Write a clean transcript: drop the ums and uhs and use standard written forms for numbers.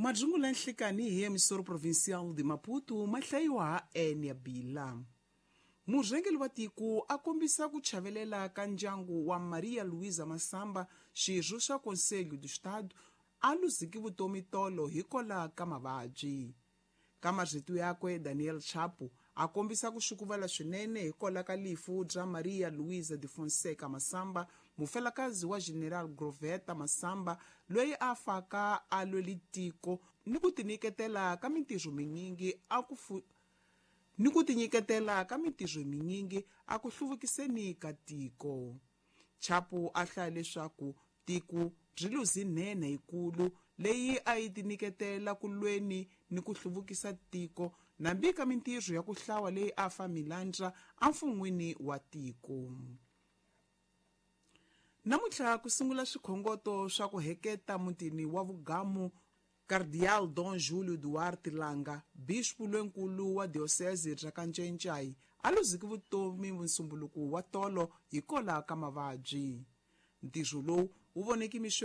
Madzungula nhlikani hi emissora provincial de Maputo ma hlayiwa ha Enia Bila. Murhangeri wa tiko a kombisa ku chavelela ka ndyangu wa Maria Luísa Massamba, xirho xa Conselho do Estado, a luziki vutomi tolo hikola ka mavabyi. Ka marito yakwe, Daniel Chapo a kombisa ku xukuvala swinene hikola ka lifu bya Maria Luísa de Fonseca Massamba, mufelakazi wa General Groveta Massamba, loyi a faka a lweli tiko ni ku tinyiketela ka mintirho minyingi a ku ni ku tinyiketela ka mintirho minyingi a ku hluvukiseni ka tiko. Chapo a hlaya leswaku tiko byi luzi nhenha yikulu leyi a yi tinyiketela ku lweni ni ku hluvukisa tiko nambi ka mintirho ya ku hlawa leyi a fa milandza emfun'wini wa tiko. Namuntlha ku sungula swikhongoto swa ku heketa mutini wa Vugamu Cardeal Dom Júlio Duarte Langa, bispo lonkulu wa diocese bya Kancencai, a luziki vutomi vunsumbuluko wa tolo hikola ka mavabyi. Ntirho lowu wu voneki mixo.